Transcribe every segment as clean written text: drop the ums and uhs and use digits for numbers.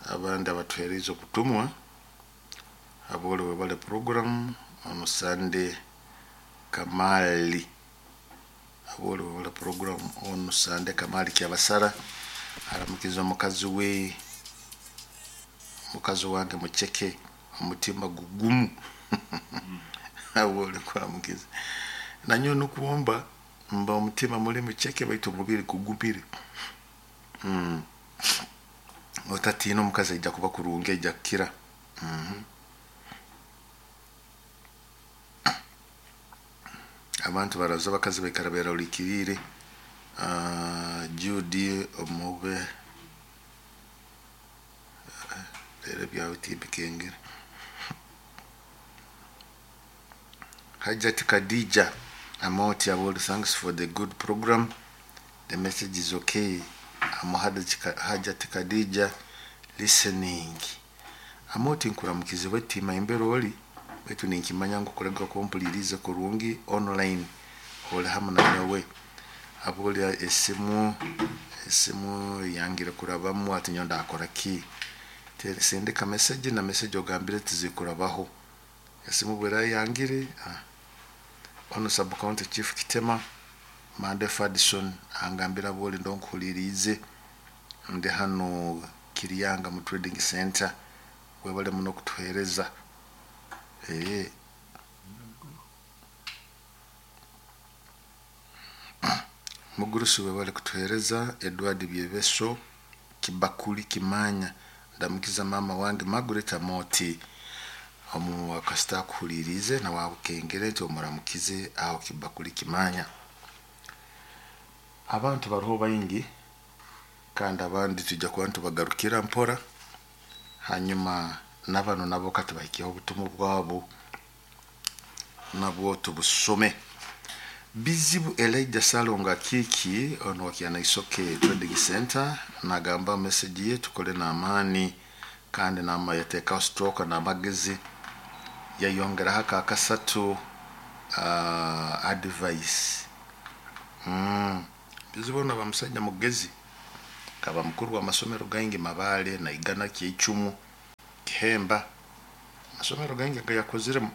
Abandi abatuheerize obutumwa abole webale program on Sunday Kamali, abole webale program on Sunday Kamali Kyabasara aramukiza omukazi we, mukazi wange muceke omutima gugumu. Abole kuramukiza nanyowe nukwomba mba omutima muli muceke baitu omubiri gugumire. Otatiina, omukazi aija kuba kurungi, aija kukira. Abantu baraza, abakazi baikara beralikiriire. Judy omube rero ebyawe timbikengere. Hajati Khadija Amoti Aboli, thanks for the good program. The message is okay. I'm Hajati Khadija listening. Amoti, nkuramukize wetima embere oli, baitu ninkimanya ngu kulega kumpuliriza kurungi online oli hamu nanyowe. Aboli esimu yangire kurabamu, ati nyowe ndakora ki? Sindika message na message ogambire tizikurabaho. Esimu bwera yangire. Ono sub county chief Kitema Mande Fadison angambira bwoli ndonkuhulirize ndi hano Kiryanga mu trading center, webale muno kutuhereza. Mugurusi webale kutuhereza. Edward Byebeso Kibakuli Kimanya, ndamukiza mama wange Margaret Amoti omu akasita akuhulirize nawe akukengere nti omuramukize aho Kibakuli Kimanya. Abantu baruho baingi kandi abandi tujja kuba nitubagarukira mpora, hanyuma nabano nabo katubahikyeho obutumwa bwabo nabwo tubusome. Bizibu Elijah Salonga Kiki ono wa Kyanaisoke Trading Center nagamba message ye tukole n'amaani kandi nama yateekaho stroke n'amagezi, yayongeraho akakasatu advice. Bizibu ono aba musajja mugezi, kaba mukuru w'amasomero gaingi Mabale, Naigana, Kyeicumu, Kihemba, amasomero gaingi agayakoziremu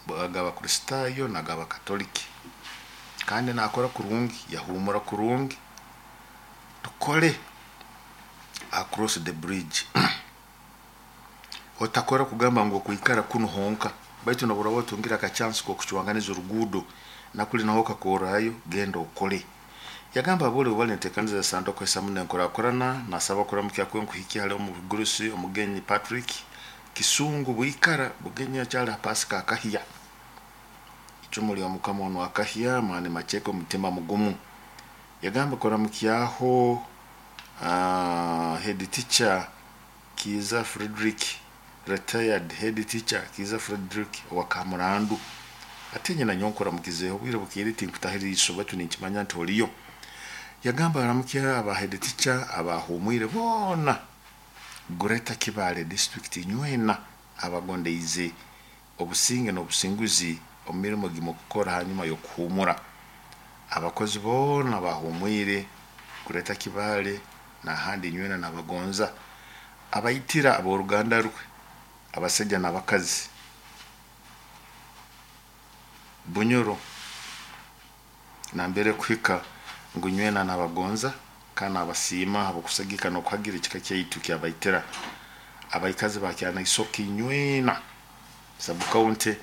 ag'Abakristaayo n'ag'Abakatoliki, kandi nakora kurungi, yahumura kurungi. Tukole across the bridge. Otakora kugamba ngu okwikara kunu honka, baitu noburaba otungire akachansi k'okucwanganiza oruguudo nakuli naho okakorrayo, genda okole. Yagamba abole bali ntekaniza sanduku esamu nenkurakurana, nasaba kuramukya kwe nkuhikya hali omugurusi omugenyi Patrick Kisungu Bwikara bugenyi akyali Pasika akahya icumu lya mukama ono akahya mani macheke omutima mugumu. Yagamba kuramukyaho head teacher Kiza Frederick, retired head teacher Kiza Frederick wa Kamurandu, ate nyina nyowe nkuramukizeho obwire bukiire tinkutahira iso baitu ninkimanya nti oliyo. Yagamba aramukya aba head teacher abahumwire boona Greater Kibale district nywena abagondeize obusinge n'obusinguzi omu mirimo gimukukora hanyuma y'okuhumura. Abakozi boona bahumwire Greater Kibale n'ahandi nywena nabagonza. Abaitira ab'oruganda rwe abasaija n'abakazi Bunyoro nambere kuhika ngu nywena nabagonza kandi nabasiima habw'okusagika n'okuhagira ekika kyaitu kyabaitira. Abaikazi ba Kyanaisoke nywena sub county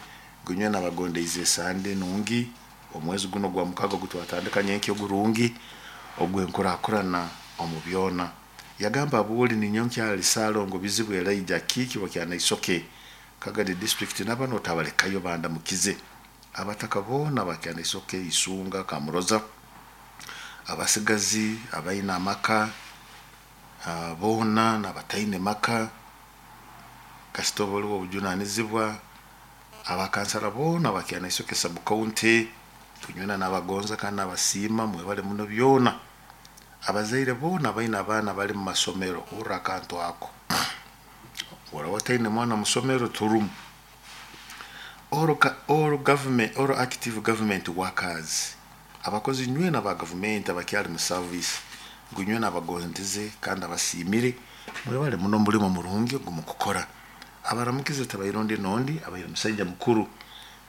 ngu nywena bagondeize esande nungi omwezi guno gwa mukaga ogutwatandika nyenkya ogurungi ogw'enkurakurana omu byona. Yagamba abuli ninyowe nkyali Salongo Bizibu Elijah Kiki wa Kyanaisoke Kagadi district nabano otabalekayo bandamukize. Abataka boona ba Kyanaisoke, Isunga, Kamuroza, abasigazi abaine amaka boona n'abataine maka, kasita oba oli w'obujunanizibwa, abakansara boona ba Kyanaisoke sub county nywena nabagonza kandi nabasiima mwebale muno byona. Abazaire boona abaine abaana bali mu masomero, hurra akantu ako, oraba otaine mwana musomero turumu. All government, all active government workers, abakozi nywena ba gavumenti abakyali mu service Ngu nyowe nabagondize kandi abasiimire, mwebale muno omulimo murungi ogu mukukora. Abaramukize tabaire ondi n'ondi, abaire musaija mukuru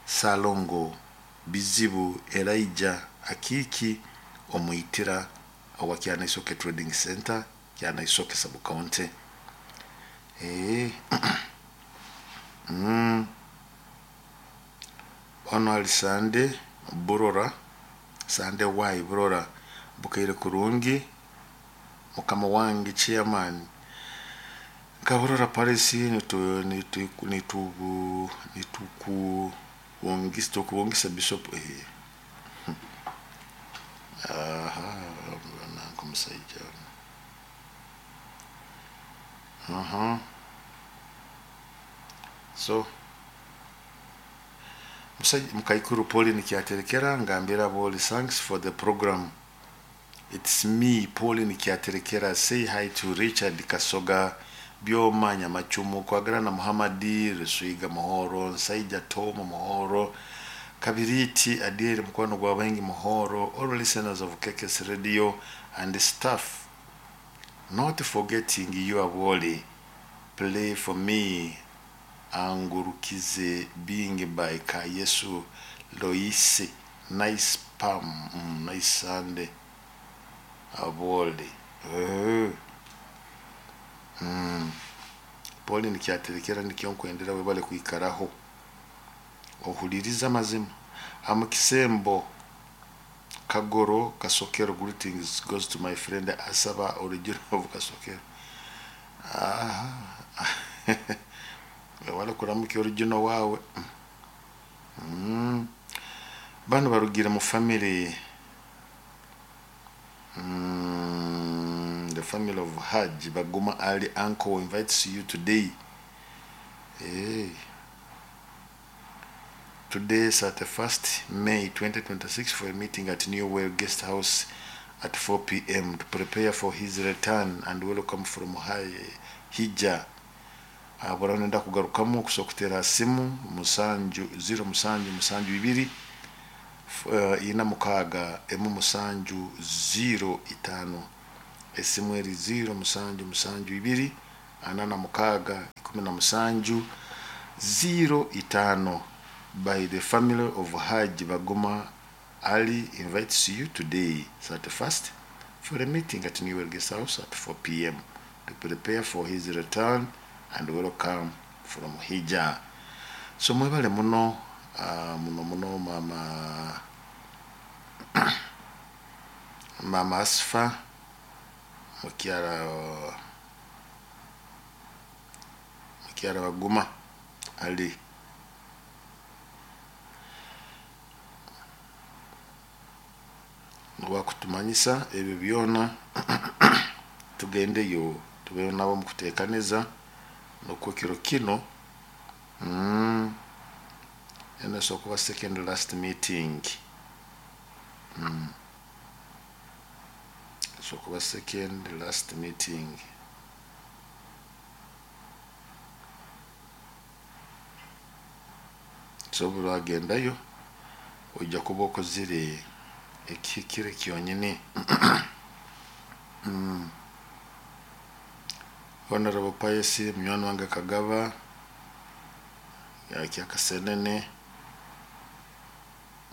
Ssalongo Bizibu Elijah Akiiki Omwitira owa Kyanaisoke Trading Center, Kyanaisoke Sub County. Ono ali Sande Burora, Sande Y Burora, bukaire kurungi, mukama wange chairman nka Burora Parish nitukubungisa Bishop aha nanka omusaija aha. So mukaikuru Pauline Kyaterekera ngambira boli thanks for the program. It's me Pauline Kyaterekera, say hi to Richard Kasoga Byoma Nyamachumu Kwagarana Muhammadi Ruswiga Muhoro Nsaija Tom Muhoro Kabiriti Adieri Mukwano gwa Bengi Muhoro, all listeners of KKS Radio and staff, not forgetting you Aboli, play for me Angurukize being by Kayesu Loise, nice palm, nice Sunday Aboli. Pauline Kyaterekera nikyo nkwendera webale kwikaraho ohuliriza amazima. Amukisembo Kagoro Kasokero, greetings goes to my friend Asaba original of Kasokero. Aha. Wala kuramuka original wawe. Bano barugira mu family, the family of Hajj Baguma Ali uncle invites you today. Hey. Today, 31st May 2026, for a meeting at New World Guest House at 4 p.m. to prepare for his return and welcome from Hija. Abarano kugarukamu kusokutera simu musanju 0 musanju musanju ibiri ina mukaga emu musanju 0 itano esimu eri 0 musanju musanju ibiri anana mukaga ikumi na musanju 0 itano. By the family of Hajj Baguma Ali invites you today 31st for a meeting at New World Guest House at 4 p.m. to prepare for his return and welcome from Hija. So mwebale muno muno muno mama mama Asfa mukyara Baguma Ali. Wakutumanyisa ebyo byona tugendeyo tubeyo nabo mukutekaneza nokwo kiro kino ena sokuba second last meeting sokuba second last meeting so bwagendayo ojja kuba okozire ekihikire kyonyini. Honorable Pius munywani wange Kagaba yakyakasenene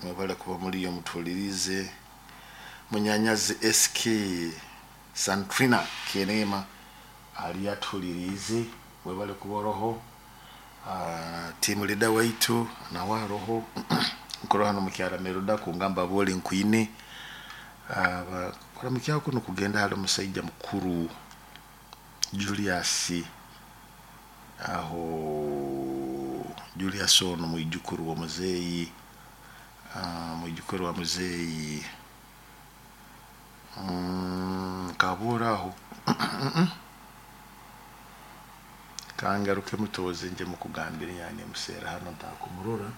mwebale kuba muliyo mutulirize. Munyanyazi SK Santrina Kenema ali atulirize mwebale kuba roho. Team leader waitu nawa roho nkoro hano mukyara Meruda kungamba boli nkwine kora kuno kugenda hali omusajja mukuru Julius aho Julius ono mwijukuru wa muzeyi mwijukuru wa muzeyi kabura aho kangaruke mutoze nje mukugambira yani musera hano ntakumurora.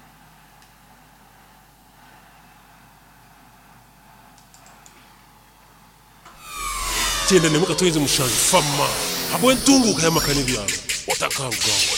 Tenda nemuka tuinze mushanju fama habwe ntunguka yamakani byalo otakarugaho.